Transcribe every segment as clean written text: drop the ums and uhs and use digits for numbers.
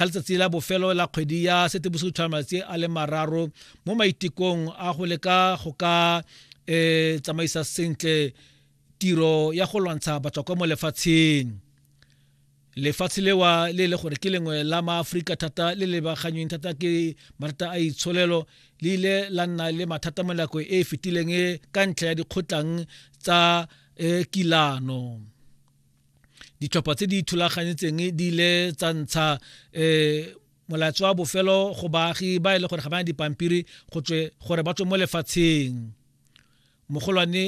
Ka letsatsi la bofelo la kgwedi ya Seetebosigo tlhola malatsi a le mararo mo maitekong a go leka go ka um tsamaisa sentle tiro ya go lwantsha batswakwa mo lefatsheng. Lefatshe lewa le le gore ke lengwe la maaforika thata le lebaganyeng thata ke mathata a itsholelo le ile la nna le mathata mo nako e e fetileng ka ntlha ya dikgotlang tsa um kilano. Ditlhopha tse di ithulaganyetseng di ile tsa ntsha um molaetsa wa bofelo go baagi ba e le gore ga ba na dipampiri go tswe gore ba tswe mo lefatsheng. Mogolwane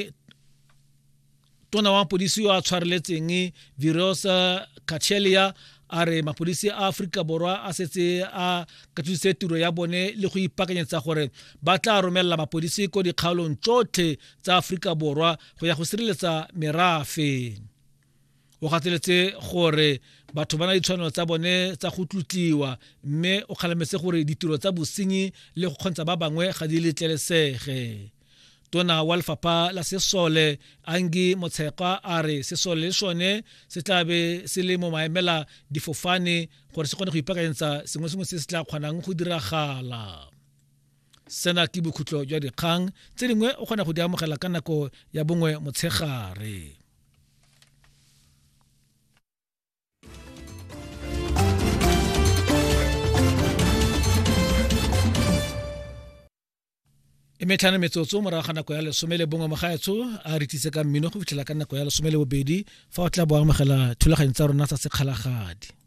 tona wa mapodisi yo a tshwareletseng Virosa Cachelia a re mapodisi a Aforika Borwa a setse a katositse tiro ya bone le go ipaakanyetsa gore ba tla romelela mapodisi ko dikgaolong tsotlhe tsa Aforika Borwa go ya go sireletsa merafe. O gateletse gore batho ba na ditshwanelo tsa bone tsa go tlotliwa mme o kgalemetse gore ditiro tsa bosenyi le go kgontsha ba bangwe ga di letlelesege. Tona wa lefapha la sesole Angie Motshekga a re sesole le sone se tla be se le mo maemela difofane gore se kgone go ipaakanyetsa sengwe sengwe se se tla kgonang go diragala. Sena ke bokhutlo jwa dikgang tse dingwe o kgona go di amogela ka nako ya bongwe motshegare. E metlhano metsotso morago ga nako ya lesome le bongwe mogaetsho a re tlise ka mmino go fitlhela ka nako ya lesome le bobedi fa o tla bo amogela thulaganyo tsa rona tsa sekgalagadi.